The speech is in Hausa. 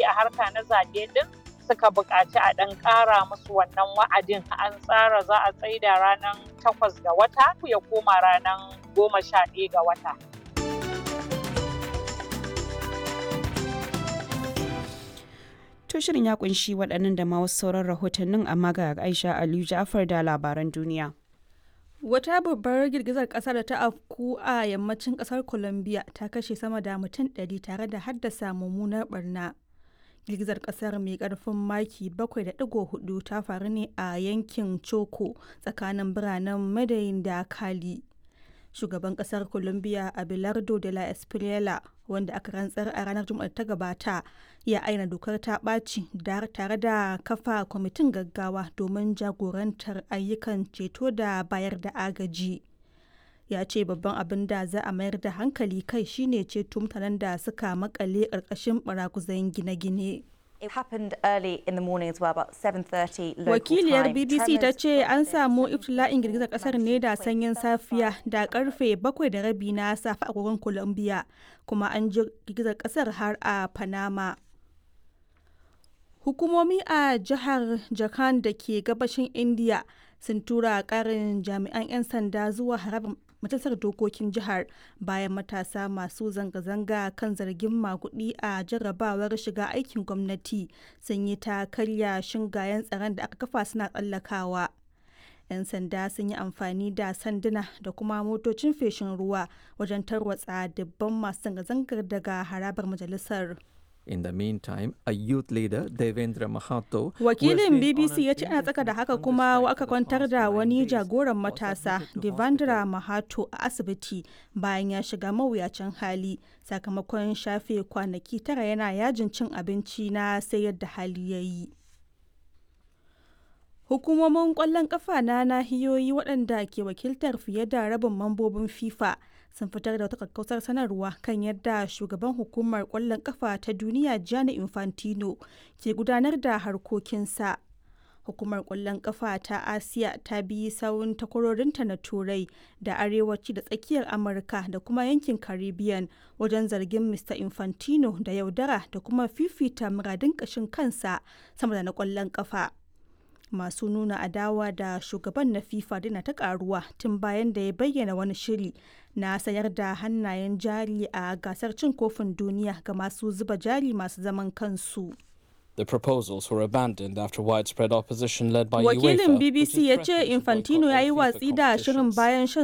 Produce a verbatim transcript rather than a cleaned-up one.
a harka na zaɓe ɗin suka buƙaci a ɗan ƙara musu wannan wa'adin. An tsara za a tsaida ranar takwas ga wata ya koma ranar goma sha ɗaya ga wata. To shirin ya kunshi waɗannan da ma wasu sauran rahotannin, amma ga Aisha Aliyu Ja'far da labaran duniya. Wata babbar girgizar ƙasa da ta afku a yammacin ƙasar Colombia ta kashe sama da mutum ɗari tare da haddasa mummunar barna. Girgizar ƙasar mai ƙarfin maki bakwai da ɗigo huɗu ta faru ne a yankin Choco tsakanin biranen Medellin da Cali. Shugaban ƙasar Colombia Abelardo de la Espriella, wanda aka rantsar a ranar Juma'ar ta gabata, ya aina dokar ta ɓaci tare da kafa kwamitin gaggawa domin jagorantar ayyukan ceto da bayar da agaji. Ya ce babban abin da za a mayar da hankali kai shine ceto mutanen da suka makale ƙarƙashin baraguzan gine-gine. Wakiliyar B B C ta ce an samu iftila'in girgizar kasar ne da sanyin safiya da karfe bakwai da rabi na safe a agogon Colombia, kuma an ji girgizar kasar har a Panama. Hukumomi a jihar Jharkhand da ke gabashin India sun tura karin jami'an 'yan sanda zuwa harabar majalisar dokokin jihar bayan matasa masu zanga-zanga kan zargin magudi a jarrabawar shiga aikin gwamnati sun yi ta karya shingayen tsaron da aka kafa suna tsallakawa. 'Yan sanda sun yi amfani da sanduna da kuma motocin feshin ruwa wajen tarwatsa dubban masu zanga-zangar daga harabar majalisar. In the meantime, a youth leader, Devendra Mahato, Wakilin B B C ya ce ana tsaka da haka kuma aka kwantar da wani jagoran matasa, Devendra Mahato, a asibiti bayan ya shiga mawuyacin hali sakamakon shafe kwanaki tara yana yajin cin abinci na sai yadda hali ya yi. Hukumomin ƙwallon ƙafa na nahiyoyi waɗanda ke wakiltar fiye da rabin mambobin FIFA sun fitar da wata kakkausar sanarwa kan yadda shugaban hukumar ƙwallon ƙafa ta duniya Gianni Infantino ke gudanar da harkokinsa. Hukumar ƙwallon ƙafa ta Asiya ta bi sawun takwarorinta na Turai da Arewaci da Tsakiyar Amurka da kuma yankin Caribbean wajen zargin Mister Infantino da yaudara da kuma fifita muradun ƙashin kansa sama da na ƙwallon ƙafa. Masu nuna adawa da shugaban na FIFA dina ta karuwa tun bayan da ya bayyana wani shiri na sayar da hannayen jari a gasar cin kofin duniya ga masu zuba jari masu zaman kansu. The proposals were abandoned after widespread opposition led by Wakilin UEFA, B B C ya ce Infantino ya yi watsi da shirin bayan shan